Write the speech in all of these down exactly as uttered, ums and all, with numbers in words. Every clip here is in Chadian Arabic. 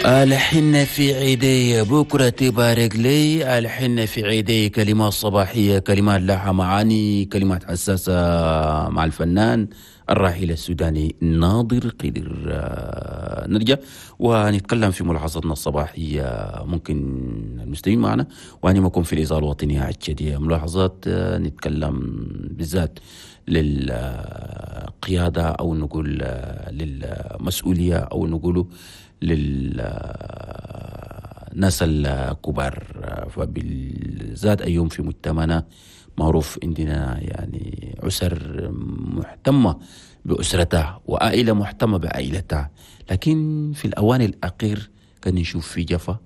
الحنة في عيدي بكرة تبارك لي، الحنة في عيدي. كلمات صباحية، كلمات لها معاني، كلمات حساسة مع الفنان الراحل السوداني ناظر قدر. نرجع ونتكلم في ملاحظتنا الصباحية، ممكن المستمعين معنا وأنا ما في الإذاعة الوطنية التشادية. ملاحظات نتكلم بالذات للقيادة أو نقول للمسؤولية أو نقول للناس الكبار، فبالذات أيوم في مجتمعنا معروف عندنا يعني أسر مهتمة بأسرتها وعائلة مهتمة بعائلتها، لكن في الأوان الأخير كان نشوف في جفا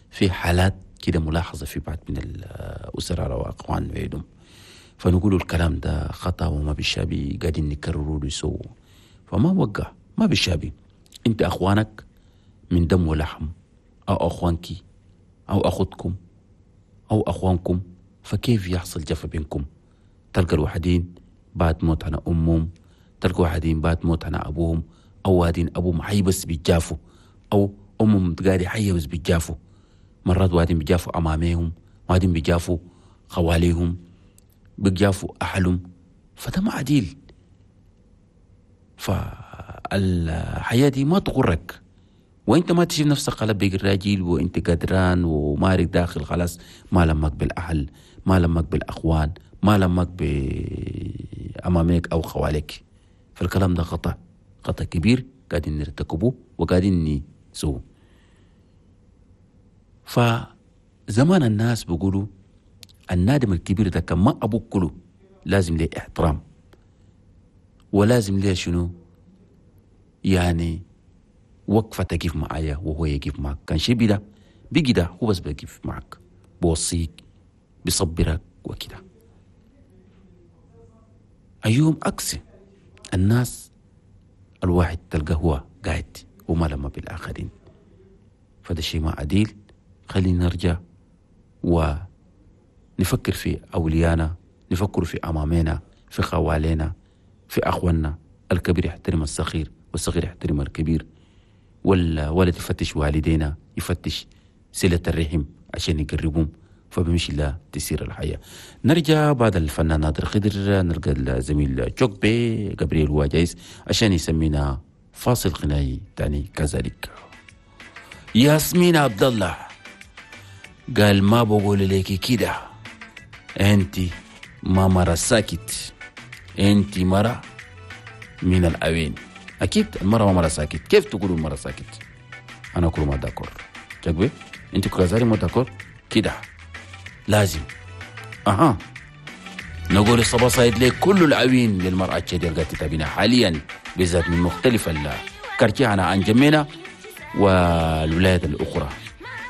في حالات كده ملاحظة في بعض من الأسر على أقوان بيدهم، فنقول الكلام ده خطأ وما بالشابي قاعدين نكرروا له، فما وقع ما بالشابي. أنت أخوانك من دم ولحم أو أخوانك أو أخوتكم أو أخوانكم، فكيف يحصل جفا بينكم؟ تلقى الواحدين بعد موت عن أمهم، تلقى واحدين بعد موت عن أبوهم، أو واحدين أبوهم حي بس بيتجافوا، أو أمهم قاعدة حية بس بيتجافوا. مرات واحدين بيجافوا أمامهم، واحدين بيجافوا خواليهم، بيجافوا أهلهم، فده ما عديل. فالحياة دي ما تغرك، وانت ما تشوف نفسك خلاص بقي الراجل وانت قدران ومارك داخل خلاص، ما لمك بالاهل، ما لمك بالاخوان، ما لمك بامامك او خوالك. فالكلام ده خطا، خطا كبير قاعدين نرتكبه وقاعدين نسوه. فزمان الناس بيقولوا النادم الكبير ده كان ما ابوك كله لازم ليه احترام، ولازم ليه شنو يعني وقفة تقف معايا وهو يقف معك. كان شيء بدا بيجي ده هو بس بيقف معك، بوصيك، بيصبرك وكده. أيوم عكس الناس الواحد تلقى هو قاعد وما لما بالآخرين، فده شيء ما عديل. خلينا نرجع ونفكر في أوليانا، نفكر في أمامنا، في خوالينا، في أخواننا. الكبير يحترم الصغير والصغير يحترم الكبير، والولد يفتش والدينا، يفتش صلة الرحم عشان يقربهم، فبمشي لا تسير الحياة. نرجع بعد الفنان نادر خضر نلقى الزميل جوكبي جبريل هو جايز عشان يسمينا فاصل غنائي تاني كذلك. ياسمين عبد الله قال ما بقول لك كده، انت ما مرة ساكت، انت مرة من الأوين. أكيد المرة ما مرة ساكت، كيف تقولوا المرة ساكت؟ أنا أقول ما d'accord جاكبي، أنت كذلك ما d'accord كده لازم. أها نقول الصبا صايد لك كل العوين للمرأة التشادية اللي قاعدة تتابعنا حاليا بالذات من مختلف الكارتيانا عن جمينا والولايات الأخرى.